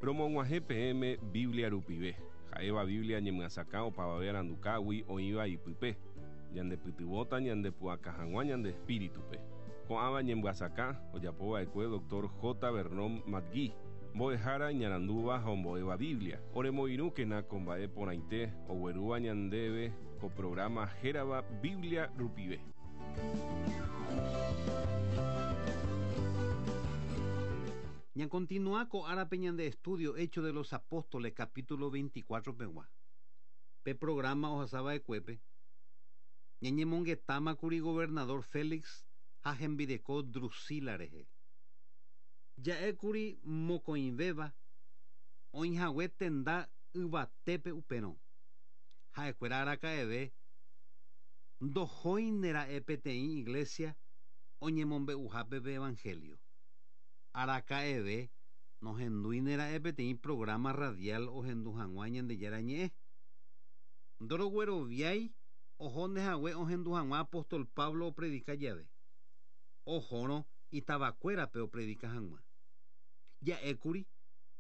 Romog̃uahẽ peẽme Biblia rupive, ha'éva Biblia ñemyasakã opavave arandukágui oĩva ipype, ñandepytyvõta ñandepu'aka hag̃ua ñande espíritupe. Ko'ãva ñemyasakã ojapova'ekue Dr. J. Vernon McGee, mbo'ehára iñarandúva ha ombo'éva Biblia. Oremoirũkena ko mba'e porãite oguerúva ñandéve ko programa hérava Biblia rupive. Ñakontinua ko árape ñande estudio Hechos de los Apóstoles capítulo 24 pegua. Pe programa ohasava'ekuépe ñañemongetámakuri gobernador Félix ha hembireko Drusila rehe. Ja'ékuri mokõivéva oĩhague tenda yvatépe upérõ. Ha'ekuéra araka'eve ndohóinera'e peteĩ iglesia oñemombe'uhápe pe evangelio. Araka'eve nohendúinera'e peteĩ programa radial ohendu hag̃ua Ñandejára ñe'ẽ. Ndorogueroviái ohónehague ohendu hag̃ua apóstol Pablo opredika jave. Ohórõ itavakuérape opredika hag̃ua. Ja'ékuri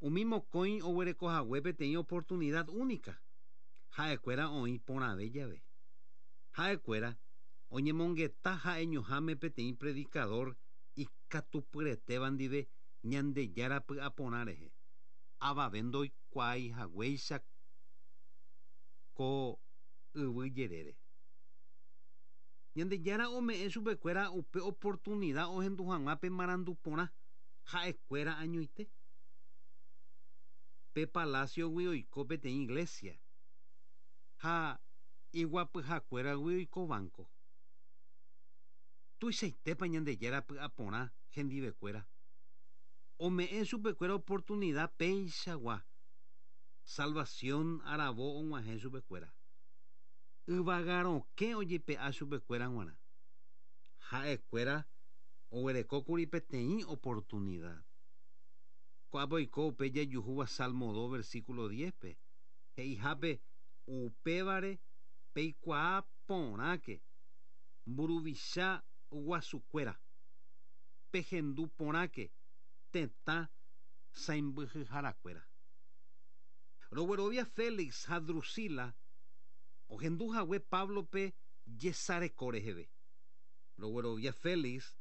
umi mokõi oguerekohague peteĩ oportunidad única. Ha'ekuéra oĩ porãve jave. Ha'ekuéra oñemongeta ha'eñoháme peteĩ predicador ikatupyretéva ndive Ñandejára py'aporã rehe. Avave ndoikuaaihaguéicha ko yvy jerére. Ñandejára ome'ẽ chupekuéra upe oportunidad ohendu hag̃ua pe marandu porã ha'ekuéra añoite. Pe palaciogui oiko peteĩ iglesia ha iguapyhakuéragui oiko banco. Tuichaitépa Ñandejára py'aporã hendivekuéra. Ome'ẽ chupekuéra oportunidad péichagua. Salvación aravo og̃uahẽ chupekuéra. Yvagarokẽ ojepe'a chupekuéra g̃uarã. Ha'ekuéra oguerekókuri peteĩ oportunidad. Ko'ápe oiko upe jajuhúva Salmo 2 versículo 10-pe. He'ihápe upévare peikuaa porãke mburuvicha guasukuéra. Pehendu porãke tetã sãimbyhyharakuéra. Roguerovia Félix ha Drusila ohenduhague Pablope jesareko reheve. Roguerovia Félix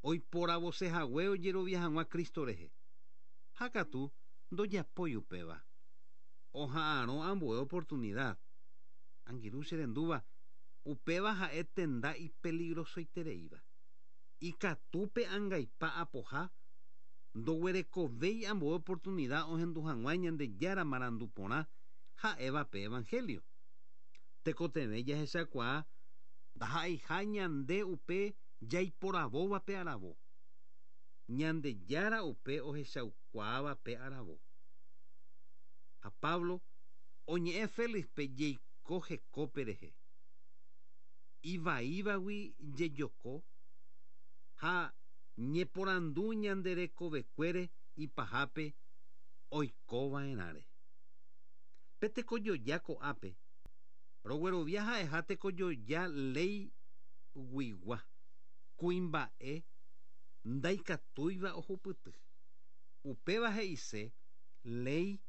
oiporavosehague ojerovia hag̃ua Cristo rehe. Ha katu ndojapói upéva. Oha'arõ ambue oportunidad. Angirũ cherendúva upéva ha'e tenda ipeligrosoitereíva. Ikatu pe angaipa apoha ndoguerekovéi ambue oportunidad ohendu hag̃ua Ñandejára marandu porã ha'éva pe evangelio. Tekotevẽ jahechakuaa ndaha'eiha ñande upe jaiporavóva pe aravo. Ñandejára upe ohechaukuaáva pe aravo. Ha Pablo oñe'ẽ Félixpe jeiko hekópe rehe. Ivaívagui jejoko ha ñeporandu ñanderekovekuére ipahápe oikova'erãre. Pe tekojoja ko'ápe roguerovia ha'eha tekojoja léi guigua kuimba'e ndaikatúiva ohupyty. Upéva he'ise léi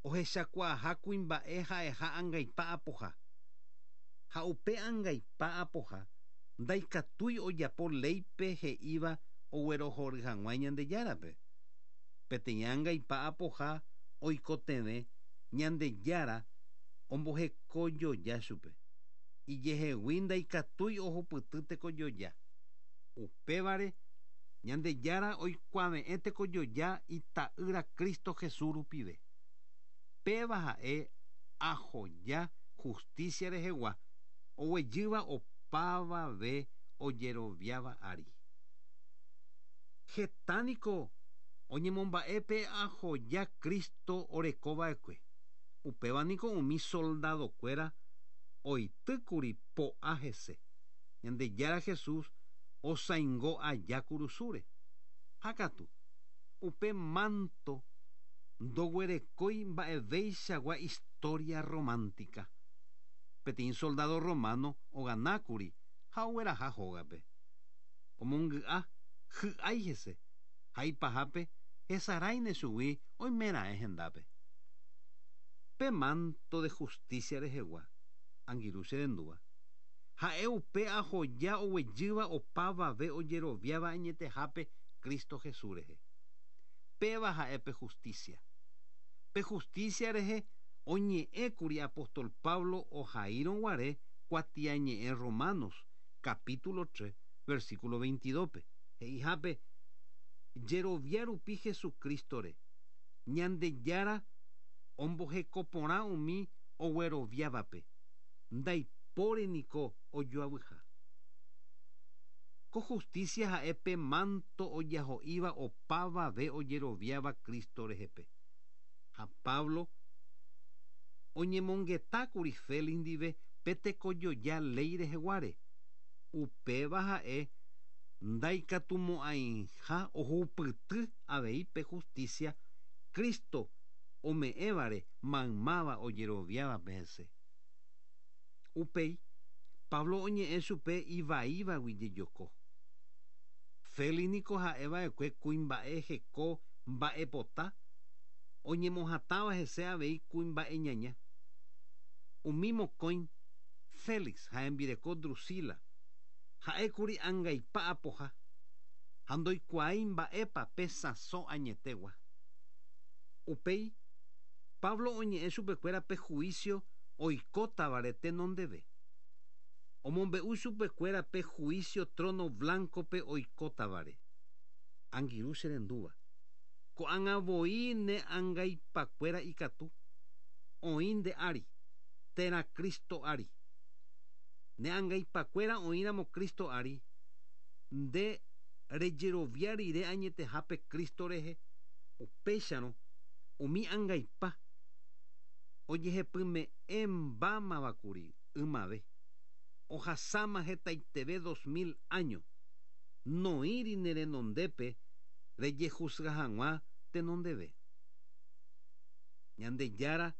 ohechakuaaha kuimba'e ha'eha angaipa apoha. Ha upe angaipa apoha ndaikatúi ojapo léipe he'íva oguerohory hag̃ua Ñandejárape. Peteĩ angaipa apoha oikotevẽ Ñandejára ombohekojoja chupe. Ijehegui ndaikatúi ohupyty tekojoja. Upévare Ñandejára oikuave'ẽ tekojoja ita'ýra Cristo Jesús rupive. Péva ha'e ahoja justicia rehegua oguejýva opavave ojeroviáva ári. Hetániko oñemomba'e pe ahoja Cristo orekova'ekue. Upéva niko umi soldadokuéra oitýkuri po'a hese. Ñandejára Jesús osaingo aja kurusúre. Ha katu upe manto ndoguerekói mba'evéichagua historia romántica. Peteĩ soldado romano oganákuri ha ogueraha hógape. Omongy'a hy'ái hese ha ipahápe Hesaráine chugui oimeraẽ hendápe. Pe manto de justicia rehegua, angirũ che rendúva, ha'e upe ahoja oguejýva opavave ojeroviáva añetehápe Cristo Jesús rehe. Péva ha'e pe justicia. Pe justicia rehe oñe'ẽkuri apóstol Pablo ohaírõ guare kuatiañe'ẽ Romanos, capítulo 3, versículo 22-pe. He'ihápe, Jerovia rupi Jesucristo-re, Ñandejára ombohekoporã umi ogueroviávape, ndaipóri niko ojoavyha. Ko justicia ha'e pe manto ojaho'íva opavave ojeroviáva Cristo rehepe. Ha Pablo oñemongetákuri Félix ndive pe tekojoja léi reheguáre, upéva ha'e ndaikatumo'ãiha ohupyty avei pe justicia Cristo ome'ẽvare maymáva ojeroviávape hese. Upéi, Pablo oñe'ẽ chupe ivaívagui jejoko. Félix niko ha'e va'ekue kuimba'e heko mba'epota, oñemohatãva hese avei kuimba'e ñaña. Umi mokõi, Félix ha hembireko Drusila, ha'ékuri angaipa apoha, ha ndoikuaái mba'épa pe sãso añetegua. Upéi, Pablo oñe'ẽ chupekuéra pe juicio oikótavare tenondeve. Omombe'u chupekuéra pe juicio trono blanco-pe oikótavare. Angirũ che rendúva, ko'ág̃a voi ne angaipakuéra ikatu oĩ nde ári, térã Cristo ári. Ne angaipakuéra oĩramo Cristo ári, nde rejerovia rire añetehápe Cristo rehe, upéicharõ umi angaipa ojehepyme'ẽmbámavakuri ymave, ohasáma hetaiteve 2000 áño, noĩri ne renondépe rejehusga hag̃ua tenondeve. Ñandejára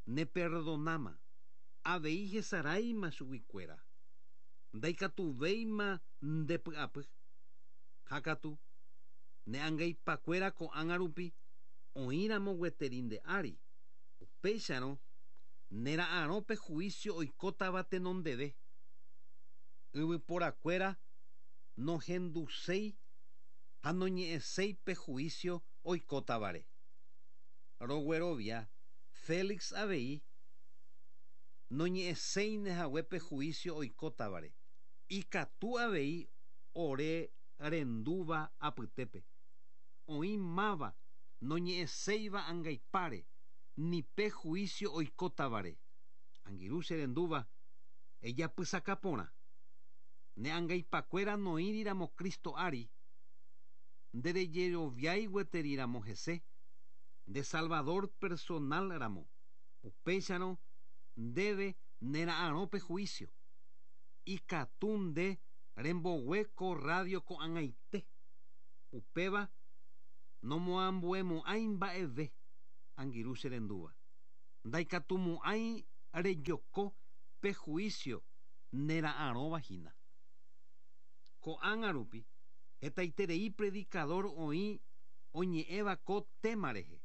neperdonáma, avei hesaráima chuguikuéra, ndaikatuvéima nde py'apy. Ha katu, ne angaipakuéra ko'ág̃a rupi oĩramo gueteri nde ári, upéicharõ nera'arõ pe juicio oikótava tenondeve. Yvyporakuéra nohenduséi ha noñe'ẽséi pe juicio oikótavare. Roguerovia Félix avei noñe'ẽséine hague pe juicio oikótavare, ikatu avei ore rendúva apytépe, oĩ máva noñe'ẽséiva angaipáre ni pe juicio oikótavare. Angirũ che rendúva, ejapysaka porã. Ne angaipakuéra noĩriramo Cristo ári, nde rejeroviái gueteri ramo hese, nde Salvador personal ramo, upéicharõ ndéve nera'arõ pe juicio. Ikatu nde rembogue ko radio ko'ag̃aite. Upéva nomoambuemo'ãi mba'eve, angirũ che rendúva. Ndaikatumo'ãi rejoko pe juicio nera'arõva hína. Ko'ág̃a rupi, hetaiterei predicador oĩ oñe'ẽva ko tema rehe.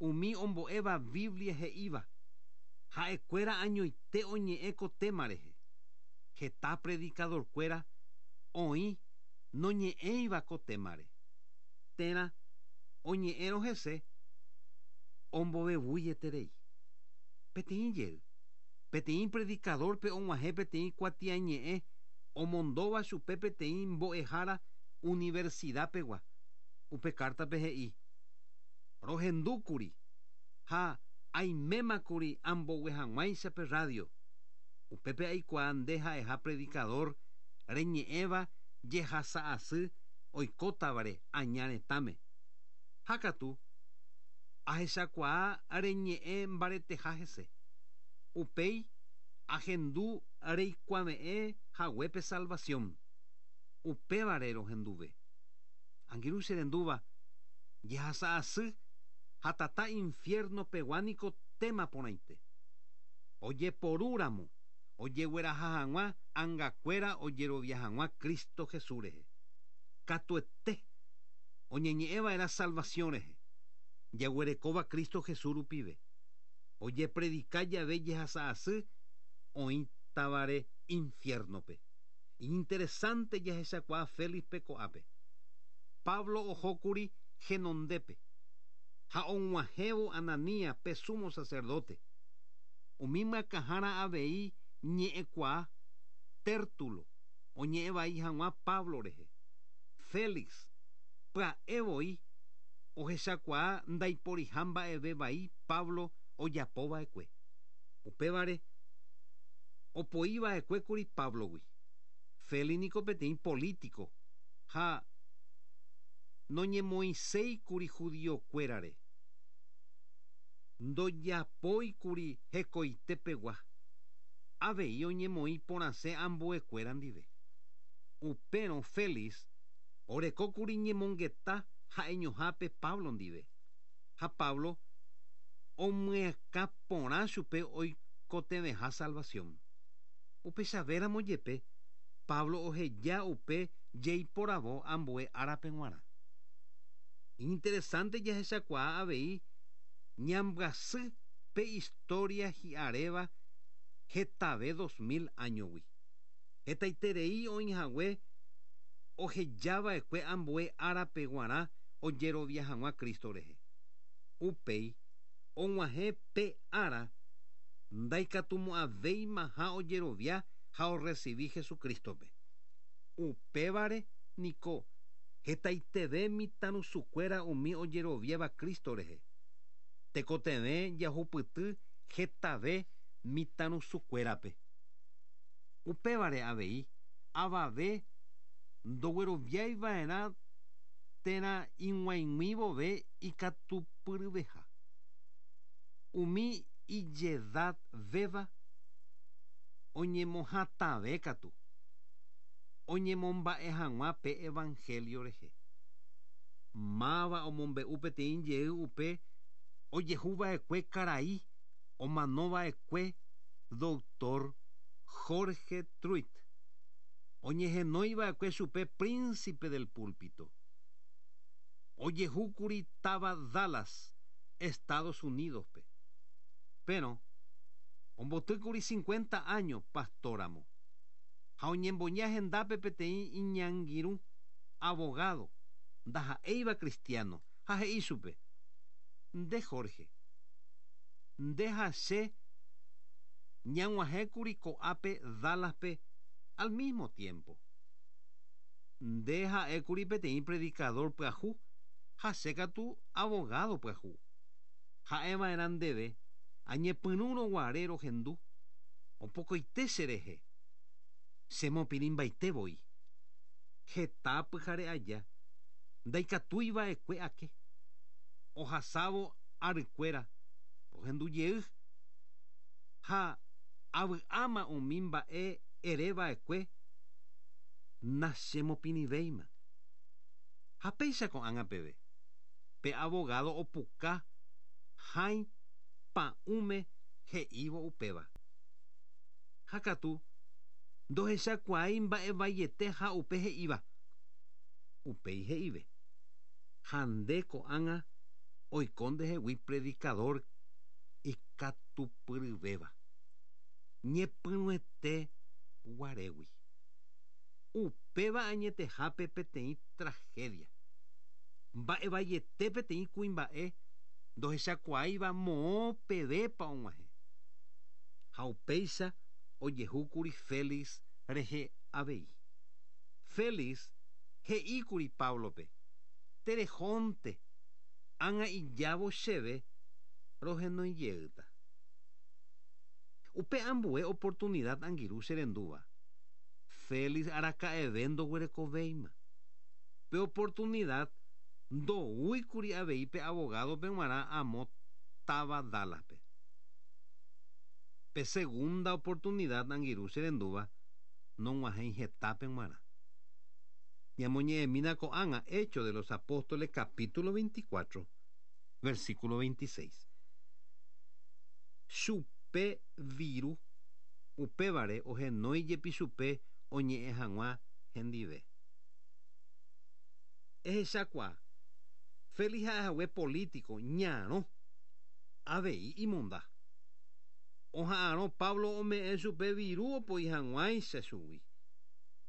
Umi ombo'éva Biblia he'íva, ha'ekuéra añoite oñe'ẽ ko tema rehe. Heta predicador-kuéra oĩ noñe'ẽiva ko témare, térã oñe'ẽrõ hese ombovevuieterei. Peteĩ jey, peteĩ predicador-pe og̃uahẽ peteĩ kuatiañe'ẽ omondóva chupe peteĩ mbo'ehára universidad-pegua. Upe kártape he'i, Rohendúkuri ha aimémakuri ambogue hag̃uáicha pe radio. Upépe aikuaa nde ha'eha predicador reñe'ẽva jehasa asy oikótavare aña retãme. Ha katu, ahechakuaa reñe'ẽ mbareteha hese. Upéi ahendu reikuave'ẽ hague pe salvación. Upévare rohenduve. Angirũ che rendúva, jehasa asy ha tata infierno pegua niko téma porãite. Ojeporu ramo, ojegueraha hag̃ua angakuéra ojerovia hag̃ua Cristo Jesús rehe. Katuete! Oñeñe'ẽva'erã salvasiõ rehe, jaguerekóva Cristo Jesús rupive. Ojepredika jave jehasa asy oĩtavare infiérnope. Iñinteresánte jahechakuaa Félixpe ko'ápe. Pablo ohókuri henondépe, ha og̃uahẽvo Ananías pe súmo saserdóte. Umi myakãhára avei ñe'ẽkuaa, Tértulo, oñe'ẽ vai hag̃ua Pablo rehe. Félix pya'e voi ohechakuaa ndaiporiha mba'eve vai Pablo ojapo va'ekue. Upévare opoi va'ekue kuri Páblogui. Félix niko peteĩ polítiko ha noñemoĩséi kuri judiokuérare. Ndojapói kuri hekoite pegua. Avei oñemoĩ porãse ambuekuéra ndive. Upérõ Félix oreko kuri ñemongeta ha'eñohápe Pablo ndive, ha Pablo omyakã porã chupe oikotevẽha salvasión. Upechavéramo jepe, Pablo oheja upe jeiporavo ambue árape g̃uarã. Iñinteresánte jahechakuaa avei ñambyasy pe istória hi'aréva hetave 2000 áñogui. Hetaiterei oĩhague ohejava'ekue ambue árape guarã ojerovia hag̃ua Cristo rehe. Upéi, og̃uahẽ pe ára ndaikatumo'ãvéimaha ojerovia ha orresivi Jesucristo-pe. Upévare niko hetaiteve mitãrusukuéra umi ojeroviáva Cristo rehe. Tekotevẽ jahupyty hetave mitãrusukuérape. Upévare avei avave ndogueroviái va'erã térã ig̃uaig̃ui vove ikatupyryveha. Umi ijedad véva oñemohatãve katu, oñemomba'e hag̃ua pe evangelio rehe. Máva omombe'u peteĩ jey upe ojehu va'ekue karai omano va'ekue Doctor Jorge Truitt, oñehenói va'ekue chupe Príncipe del Púlpito. Ojehúkuri táva Dallas, Estados Unidos-pe. Péro, ombotýkuri cincuenta áño pastor-ramo, ha oñemboja hendápe peteĩ iñangirũ, abogado, ndaha'éiva cristiano, ha he'i chupe, Nde Jorge, nde ha che ñag̃uahẽkuri ko'ápe Dallas-pe al mismo tiempo. Nde ha'ékuri peteĩ predicador pyahu ha che katu abogado pyahu. Ha'eva'erã ndéve añepyrũrõ guare rohendu, opokoite che rehe. Chemopirĩmbaite voi. Heta pyhare aja ndaikatúi va'ekue ake. Ohasávo arykuéra rohendu jey ha avy'áma umi mba'e ere va'ekue nachemopirĩvéima. Ha péicha ko'ág̃a peve, pe abogado opuka hãi pa'ũme he'ívo upéva. Ha katu ndohechakuaái mba'evaiete ha upe he'íva. Upéi he'ive, Ha nde ko'ág̃a oiko ndehegui predikadór ikatupyryvéva, ñepyrũete guarégui. Upéva añetehápe peteĩ trahédia. Mba'evaiete peteĩ kuimba'e ndohechakuaáiva moõ pevépa og̃uahẽ. Ha upéicha ojehúkuri Félix rehe avei. Félix he'íkuri Páblope, Terehónte, ág̃a ijávo chéve rohenói jeýta. Upe ambue oportunidad angirũ che rendúva, Félix araka'eve ndoguerekovéima. Pe oportunidad ndoúikuri avei pe abogado-pe g̃uarã amo táva Dallas-pe. Pe segunda oportunidad angirũ che rendúva nog̃uahẽi hetápe g̃uarã. Ñamoñe'ẽmína ko'ág̃a Hechos de los Apóstoles capítulo 24, versículo 26. Chupe viru, upévare ohenói jepi chupe oñe'ẽ hag̃ua hendive. Ehechakuaa. Félix ha'ehague político ñarõ, avei imonda. Oha'arõ Pablo ome'ẽ chupe viru opoi hag̃uáicha chugui.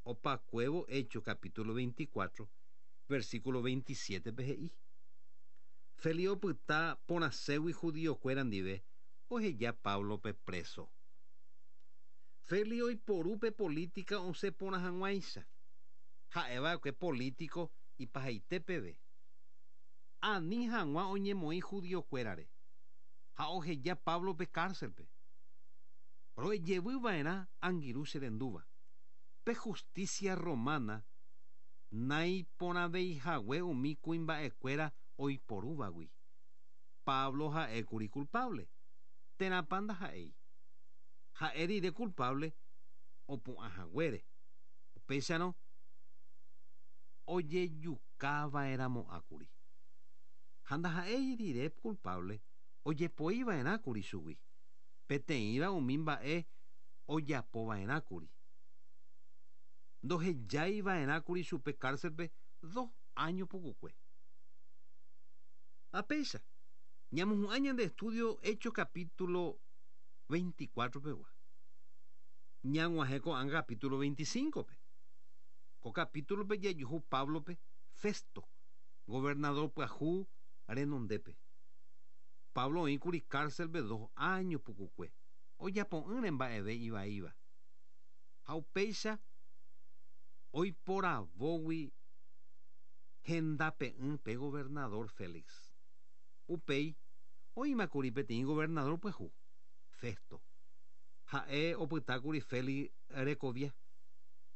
Opakuévo Hechos capítulo 24, versículo 27-pe he'i, Félix opyta porãségui judío-kuéra ndive oheja Páblope preso. Félix oiporu pe política osẽ porã hag̃uáicha. Ha'eva'ekue político ipahaite peve. Ani hag̃ua oñemoĩ judío-kuérare ha oheja Páblope cárcel-pe. Ro'ejevy va'erã angirũ che rendúva. Pe justicia romana naiporãveihague umi kuimba'ekuéra oiporúvagui. Pablo ha'ékuri culpable, térãpa ndaha'éi. Ha'e rire culpable opu'ãhaguére, upéicharõ ojejukava'erãmo'ãkuri. Ha ndaha'éi rire culpable ojepoiva'erãkuri chugui, peteĩva umi mba'e ojapova'erãkuri. Ndohejaiva'erãkuri chupe cárcel-pe dos áño pukukue. Ha péicha, ñamohu'ã ñande estudio Hechos capítulo 24 pegua. Ñag̃uahẽ ko'ág̃a capítulo 25-pe. Ko capítulo-pe jajuhu Páblope Festo, gobernador pyahu renondépe. Pablo oĩkuri cárcel-pe dos áño pukukue, ojapo'ỹre mba'eve ivaíva. Ha upéicha oiporavógui hendape'ỹ pe gobernador Félix. Upéi oĩmakuri peteĩ gobernador pyahu, Festo. Ha'e opytákuri Félix rekovia.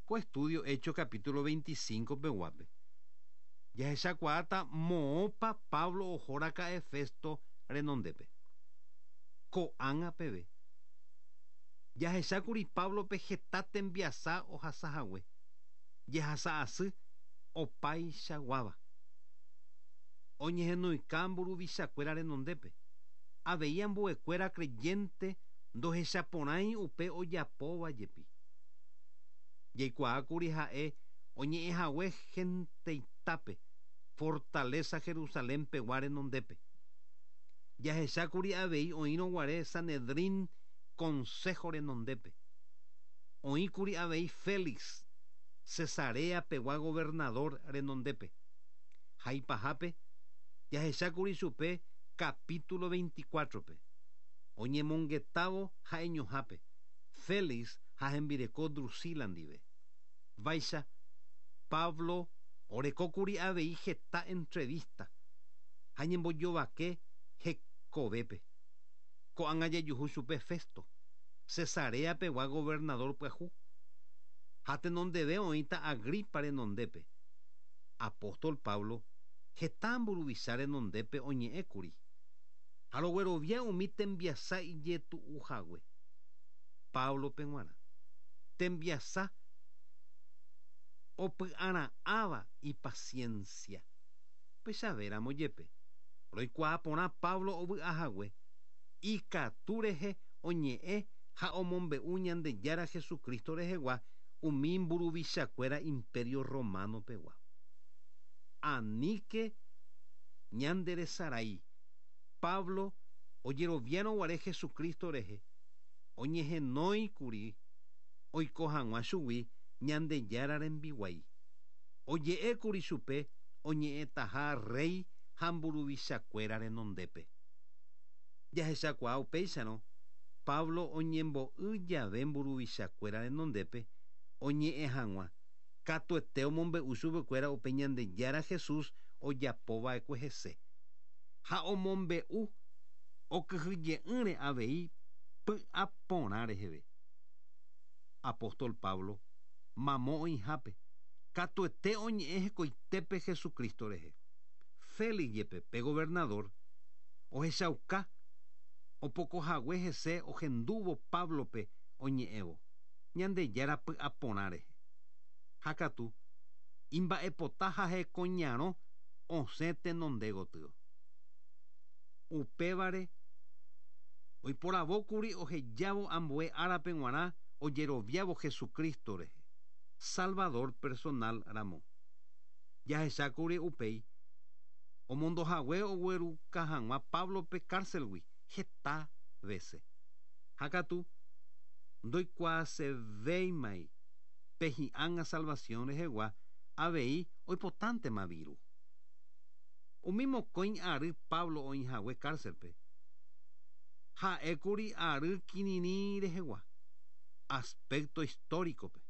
Ko estudio Hechos capítulo 25 peguápe, jahechakuaáta moõpa Pablo ohoraka'e Festo renondépe. Ko'ág̃a peve, jahechákuri Páblope heta tembiasa ohasahague, jehasa asy opaichaguáva. Oñehenoika mburuvichakuéra renondépe. Avei ambuekuéra creyente ndohechaporãi upe ojapóva jepi. Jaikuaákuri ha'e oñe'ẽhague genteitápe fortaleza Jerusalén pegua renondépe. Jahechákuri avei oĩrõ guare Sanedrín consejo renondépe. Oĩkuri avei Félix, Cesarea pegua gobernador renondépe. Ha ipahápe, jahechákuri chupe capítulo 24-pe, oñemongetávo ha'eñohápe, Félix ha hembireko Drusila ndive. Vaicha, Pablo orekókuri avei heta entrevista ha ñembojovake hekovépe. Ko'ág̃a jajuhu chupe Festo, Cesarea pegua gobernador pyahu, ha tenondeve oĩta Agripa renondépe. Apóstol Pablo heta mburuvicha renondépe oñe'ẽkuri, ha roguerovia umi tembiasa ijetu'uhague. Páblope g̃uarã, tembiasa opy'ara'ãva ipasiénsia. Upechavéramo jepe, roikuaa porã Pablo ovy'ahague, ikatu rehe oñe'ẽ ha omombe'u Ñandejára Jesucristo rehegua umi mburuvichakuéra Imperio Romano pegua. Aníke ñanderesarái, Pablo ojeroviárõ guare Jesucristo rehe, oñehenóikuri oiko hag̃ua chugui Ñandejára rembiguái. Oje'ékuri chupe oñe'ẽtaha rréi ha mburuvichakuéra renondépe. Jahechakuaa upéicharõ, Pablo oñembo'y jave mburuvichakuéra renondépe oñe'ẽ hag̃ua, katuete omombe'u chupekuéra upe Ñandejára Jesús ojapova'ekue hese. Ha omombe'u okyhyje'ỹre avei py'aporã reheve. Apóstol Pablo mamo oĩhápe, katuete oñe'ẽ hekoitépe Jesucristo rehe. Félix jepe, pe governadór, ohechauka opokohague hese ohendúvo Páblope oñe'ẽvo, Ñandejára py'aporã rehe. Ha katu, imba'epota ha hekoñarõ osẽ tenonde gotyo. Upévare, oiporavókuri ohejávo ambue árape g̃uarã ojeroviávo Jesucristo rehe, Salvador personal ramo. Jahechákuri upéi. Omondohague ogueruka hag̃ua Páblope cárcelgui heta vése. Ha katu ndoikuaasevéimai pe hi'ág̃a salvación rehegua, avei oipotántema viru. Umi mokõi ary Pablo oĩhague cárcelpe, ha'ékuri ary kirirĩ rehegua, aspecto histórico-pe.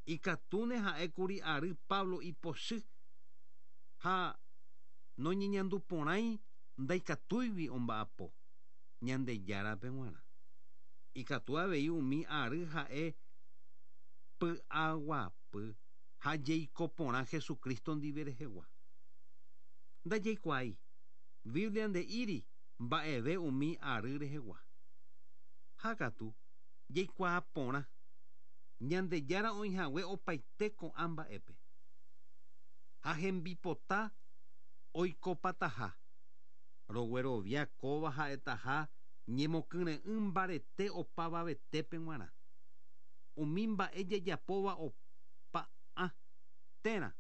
Ikatúne ha'ékuri ary Pablo ipochy ha noñeñanduporãi ndaikatúigui omba'apo Ñandejárape g̃uarã. Ikatu avei umi ary ha'e py'aguapy ha jeiko porã Jesucristo ndive rehegua. Ndajaikuaái, Biblia nde'íri mba'eve umi ary rehegua. Ha katu, jaikuaa porã, Ñandejára oĩhague opaite ko'ã mba'épe. Ha hembipota oikopataha. Roguerovia kóva ha'etaha ñemokyre'ỹ mbarete opavavetépe g̃uarã. Umi mba'e jajapóva opa'ã térã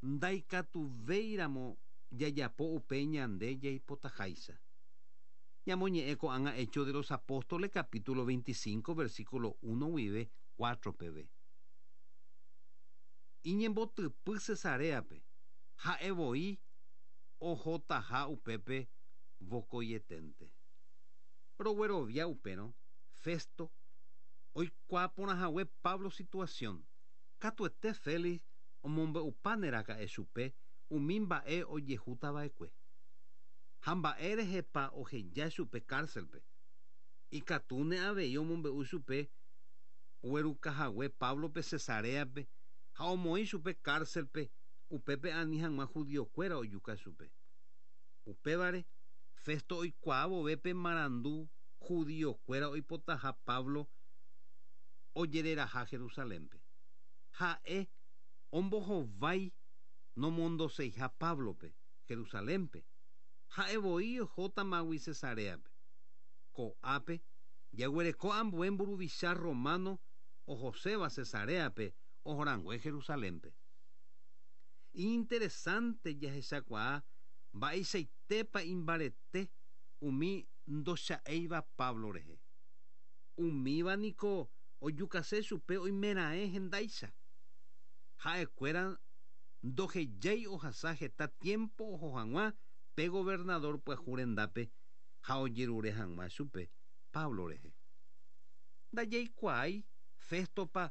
ndaikatuvéiramo jajapo upe ñande jaipotaháicha. Ñamoñe'ẽ ko'ág̃a Hechos de los Apóstoles capítulo 25 versículo 1 guive 4 peve. Iñembotypy Cesaréape, ha'e voi ohotaha upépe vokoieténte. Roguerovia upérõ Festo oikuaa porãhague Pablo situasión, katuete Félix omombe'upáneraka'e chupe umi mba'e ojehútava'ekue. Ha mba'e rehepa oheja chupe kárselpe. Ikatúne avei omombe'u chupe oguerukahague Páblope Cesaréape ha omoĩ chupe kárselpe upépe ani hag̃ua judiokuéra ojuka chupe. Upévare, Festo oikuaa vove pe marandu judiokuéra oipotaha Pablo ojereraha Jerusalénpe, ha'e ombohovái nomondoseiha Páblope Jerusalénpe, ha'e voi ohótamagui Cesaréape. Ko'ápe jaguereko ambue mburuvicha rrománo ohoséva Cesaréape ohorangue Jerusalénpe. Iñinteresánte jahechakuaa mba'eichaitépa imbarete umi ndocha'éiva Pablo rehe. Umíva niko ojukase chupe oimeraẽ hendáicha. Ha'ekuéra ndohejái ohasa heta tiémpo oho hag̃ua pe governadór pyahu rendápe ha ojerure hag̃ua chupe Pablo rehe. Ndajaikuaái Féstopa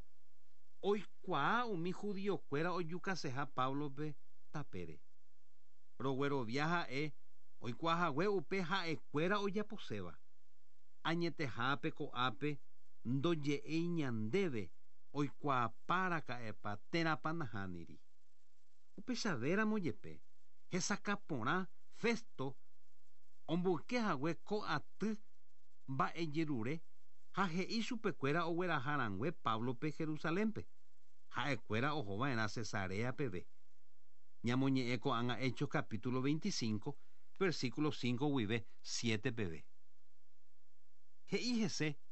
oikuaa umi judiokuéra ojukaseha Páblope tapére. Roguerovia ha'e oikuaahague upe ha'ekuéra ojaposéva. Añetehápe ko'ápe ndoje'éi ñandéve oikuaapa raka'epa térãpa nahániri. Upechavéramo jepe, hesakã porã Festo omboyke hague ko aty mba'ejerure ha he'i chupekuéra ogueraha rangue Páblope Jerusalénpe, ha'ekuéra oho va'erã Cesarea peve. Ñamoñe'ẽ ko'ág̃a Hechos capítulo 25, versículo 5 guive 7 peve. He'i hese.